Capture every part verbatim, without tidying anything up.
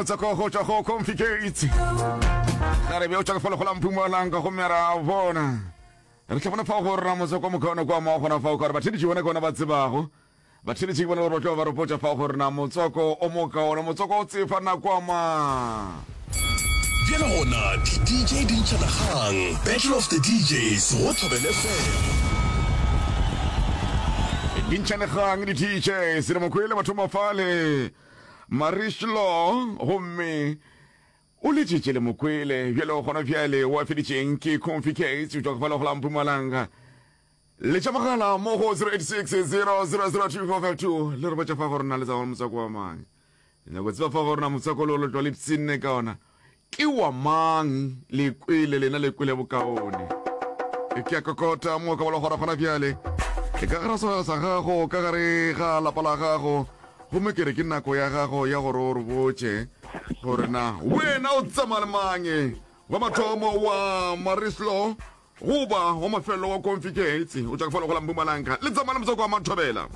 motswako go tšwa go Configate. Ga re bjo tšwa go fela go la Mpumalanga gomme ra bona. Re tla bona fao gore na motswako mokaone kwa mo gona fao ka gore batheletši bona ke bona ba tsebago. Batheletši ke bona gore ba tlo ba re botša fao gore na motswako o mokaone, motswako o tsefa nako a mang. Bjale gona di D J di ntšhana kgang, Battle of the D Js go Thobela F M. Di ntšhane kgang di D Js, re mo kwele batho mafale Marishlo gomme o letšetše le mokwele bjale gona bjale wa feditšeng ke Comfy Cats o tšwa go fela go la Mpumalanga. Letša mogala mo go zero eight six zero zero zero two four five two le re botša fa gore na le tsa motswako wa mang. Nyako tseba fa gore na motswako lo lo tlo le psine ka ona ke wa mang, le kwele lena le kwele bokaone. Ke a kokota mo ka bolo gora gona bjale e ka gara segwera sa gago ka gare ga lapa la gago gomme ke re ke nako ya gago ya gore o re botše gore na wena o tsamaya le mang wa mathomo wa Marislo goba wa mafelo wa Configate o tšwa ka falo go la Mpumalanga le tsamaya le motswako wa Mathobela.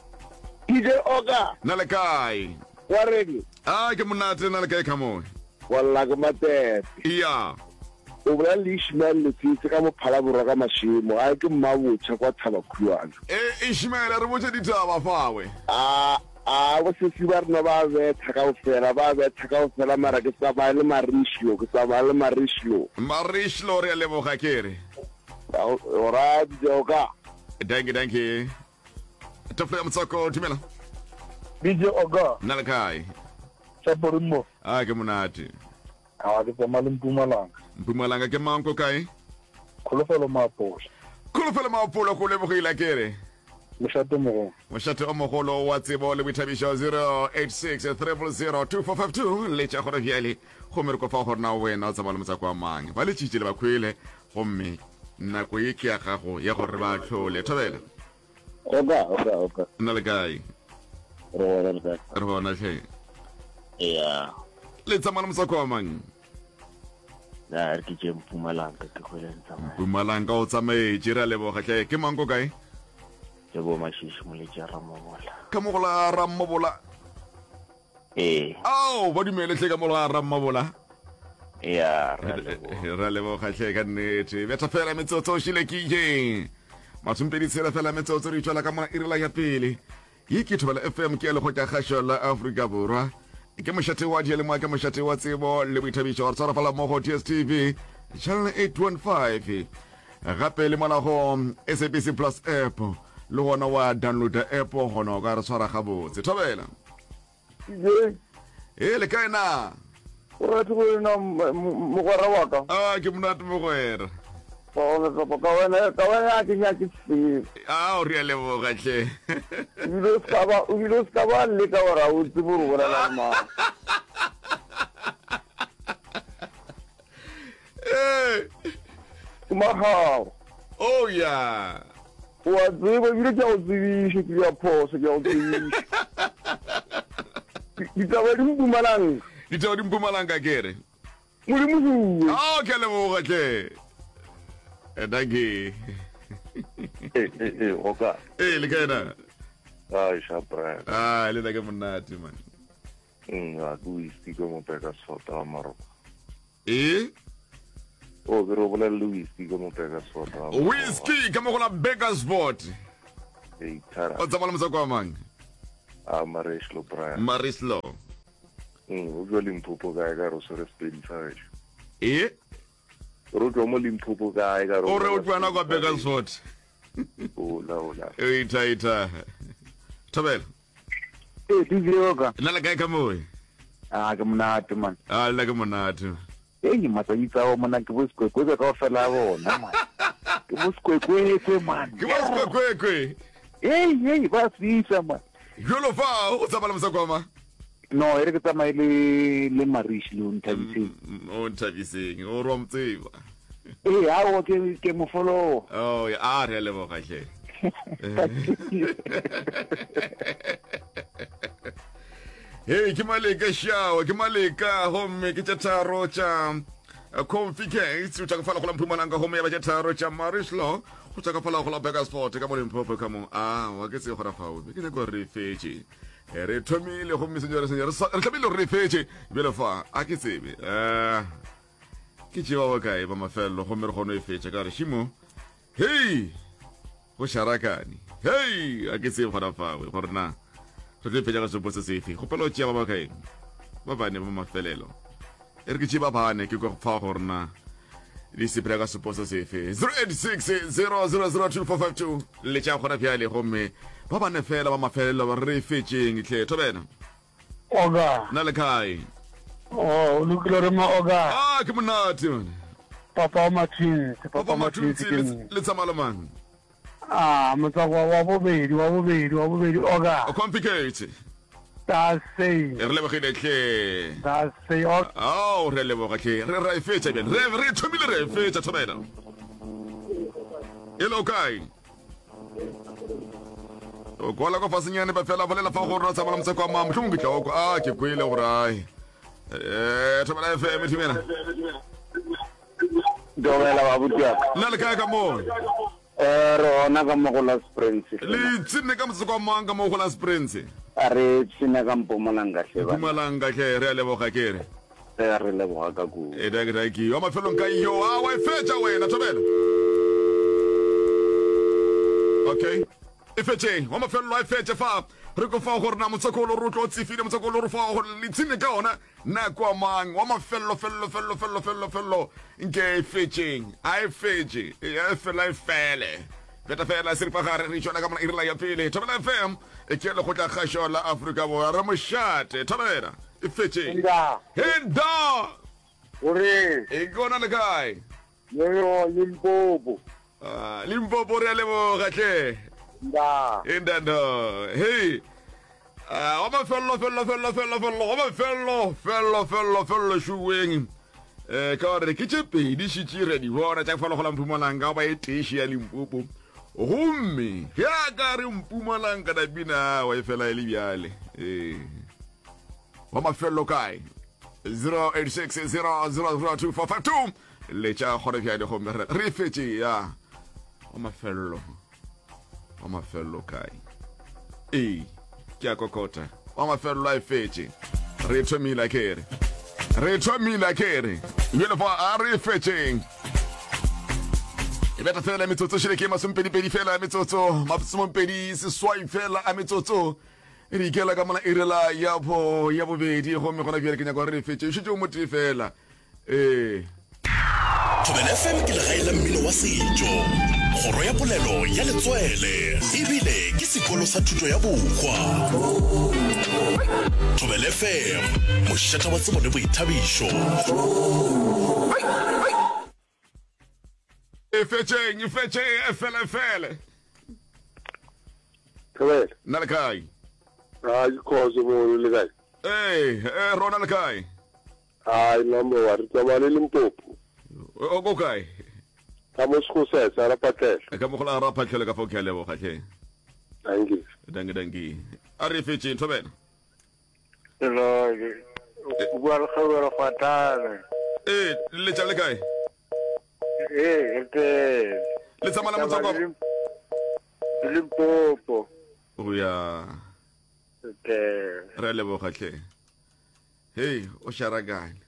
D J Oka. Na le kae? Wa reng? A ke monate na le kae ka mo? Walla ke matete. Iya. O bolela le Ishmael Letsetse ka Mophala Borwa ka Mašemo. Gae ke Mmabotšha kwa Thabakhuana. E Ishmael re botše ditaba fawe. A a bosesi ba rena ba betha kaofela, ba betha kaofela mara ke tsamaya le Marishlo, ke tsamaya le Marishlo. Marishlo re a leboga ke re. Ora D J Oka. Dankie dankie. Tafula ya motswako dumela. D J Oka. Nna le kae? Chaporimo. A ke monate. A ke tsamaya le Mpumalanga. Mpumalanga ke mang ko kae? Kholofelo Maapola. Kholofelo Maapola go lebogile ke re. Mošate mogolo. Mošate o mogolo wa tsebo le boithabišo zero eight six triple zero two four five two le tša gore bjale gomme re kopa gore na wena o tsamaya le motswako wa mang. Ba letšitše le ba kwele gomme nako ye ke ya gago ya gore ba tlhole. Thobela. Oka, oka, oka. Nna le kae? Re gona le kae? Re gona hle. Ya. Le tsamaya le motswako wa mang? Na re ke tše Mpumalanga ke go le tsamaya. Mpumalanga o tsamaetše re a leboga hle. Ke mang ko kae? Ke bo Mashishi moletše Rammobola. Ka mo go la Rammobola? Ee. Ao, ba dumele hle ka mo la Rammobola. Ya, re a leboga. Re a leboga hle ka nnete. Betha fela metsotso o šile ke ye. Masompedi tshela fela metsotso re tšwela ka mona irela ya pele. Ye ke Thobela F M ke ya lekgotla kgašo la Afrika Borwa. Ke mošate wa diyalemoya, ke mošate wa tsebo le boithabišo. Re tshwara fela mmogo D S T V channel eight one five. Gape le mola go S A B C Plus app le gona wa downloada app gona o ka re tshwara gabotse. Thobela. Ee. E le kae na? O rate go ena mogwera wa ka. Ah, ke monate mogwera. Ka wena, ka wena ke nyake selo. Ah, o re a leboga hle. Ebile o ska ba, ebile o ska ba leka gore a o tsebe gore o bolela le mang. Eh. Ke magao. Oh yeah. O a tseba ebile ke a go tsebiša, ke a phoso, ke a go tsebiša. Ditaba di Mpumalanga. Ditaba di Mpumalanga ke re. Modimo huwe. Oh, ke a leboga hle. Eh, dankie. Eh, eh, eh, oka. Eh, le kae na? Ai, sha Brian. Ah, le nna ke monate man. Mm, a ke whisky ke mo peka sota wa Maroko. Eh? O ke re o bolele le whisky ke mo peka sota wa Maroko. Whisky ka mo go la Bakersford. Ei, thara. O tsamaya le motswako wa mang? Ah, Marislo Brian. Marislo. Mm, o tšwa Limpopo kae ka re o swere Sepedi sa gešo? Eh? Re o tšwa mo Limpopo kae ka re O re o tšwa na kwa Bakersford. Ola, ola. Ita, ita. Thobela. Eh, D J Oka. Nna le kae ka moe? Ah, ke monate man. Ah, le ke monate. Ei, matsatsi tsa mona ke bo sekwekwekwe kaofela a bona man. Ke bo sekwekwekwe man. Ke bo sekwekwekwe. Ei, ei, ba fisa man. Jolo fa o tsamaya le mosako wa mang? No, e re ke tsamaye le le Marish le o nthabiseng. O nthabiseng, o re wa mo tseba. Ee, aowa ke ke mo follow. Oh, ya, a re a leboga hle. Hey, ke Maleka Shawa, ke Maleka gomme ke tša tharo tša Comfy Cakes, o tša ka fala go la Mpumalanga gomme ya ba tša tharo tša Marislo, go tša ka fala go la Bakersford ka mo Limpopo ka mo. Ah, wa ke tsebe gona fao, ke nyaka gore re fetše. Eh, re thomile gomme senyore senyore re tlamehile gore re fetše bjale fa a ke tsebe um ke tše ba bakae ba mafelelo gomme re kgone e fetša ka gore šimo hei go šarakane hei a ke tsebe gona fawe gore na re tlo e fetša ka sepo se sefe kgopela o tšea ba bakae ba bane ba mafelelo e re ke tšee ba bane ke kwa fa gore na di sepela ka sepo se sefe zero eight six zero zero zero two four five two letša gona bjale gomme ba bane fela ba mafelelo ba re fetšeng tlhe thobela Oga. Na le kae? Oh, o lokile re mo oga. Ah, ke monate man. Papa wa Matwins, Papa Papa Matwins Matwins ke nna. le tsamaya le mang? Ah, motswako wa bobedi, wa bobedi, wa bobedi oga. O complicate. That's say. Re lebogile tlhe. That's say. Oh, Ao, re a leboga tlhe. Re ra e fetša bjale. Re re thomile re e fetša thobela. Hello kae? O kwala kwa fasenyane ba fela bolela fa gore o tsamaya motswako wa mang mohlomong ke tla o kwa. Ah, ke kwele gore ai. Eh, Thobela F M thimela. Dumela babuti wa ka. Nna le kae ka moo? Eh, re gona ka mo go la Springs. Le tsene ka motswako wa mang ka mo go la Springs? A re tsene ka Mpumalanga hle bana. Mpumalanga hle, re a leboga ke re. Eh, re leboga ka kudu. E danki danki. Wa mafelong ka yo. Ah, wa e fetša wena Thobela. Okay. E fetšeng. Wa mafelelo a e fetše fa. Re ko fa gore na motswako o re tlo tsefile motswako o re fa gore le tsene ka ona nako a mang wa mafelelo felelo felelo felelo felelo felelo nke e fetšeng a e fetše e fela e fele feta fela seripagare re tšwela ka mona irela ya pele Thobela F M e ke lekgotla kgašo la Afrika Borwa re mošate Thobela e fetšeng Henda. Henda Gore e kona le kae yo Limpopo. Ah, Limpopo re a leboga tle Nda. Endando. Hey. Ah, wa mafello fello fello fello fello wa mafello fello fello fello šuweng. Eh ka gore ke tše pedi šitše re di bona tša go falogola Mpumalanga ba e teši ya Limpopo. Gomme ge a ka re Mpumalanga na bina wa e fela e le bjale. Eh. Wa mafello kae? zero eight six zero zero zero two four five two letša kgone bjale gomme re re fetše ya wa mafello wa mafello kae ee ke a kokota wa mafello a e fetše re thomile ke re re thomile ke re bjale fa a re fetšeng e beta fela metsotso šele ke masomepedipedi fela metsotso masomepedi seswai fela a metsotso re ikela ka mola irela ya bo ya bobedi gomme gona bjale ke nyaka gore re fetše šetše o motee fela ee Thobela F M ke legae la mmino wa setšo, kgoro ya polelo ya letswele, ebile ke sekolo sa thuto ya bohwa. Thobela F M, mošate wa tsebo le boithabišo. E fetšeng, e fetšeng, e fele, e fele. Thobela. Nna le kae? Ah, ke khoso mo le kae? Ee, eh, rona le kae? Ai, number one, re tsamaya le Limpopo. O ko kae? Ka mo Sekgosese, ra Phatlhelo. Ka mo go la ra Phatlhelo ka fao ke a leboga tlhe. Thank you. Danki, danki. A re fetšeng, Thobela. Hello, o bua le Kgabelo Fatane. Ee, letša le kae? Ee, re teng. Le tsamaya la motswako? Limpopo. O ya. Re teng. Re a leboga tlhe. Hei, o šarakane.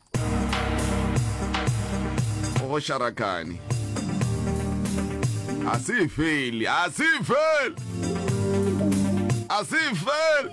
O šarakane. A se fele, a se fele. A se fele.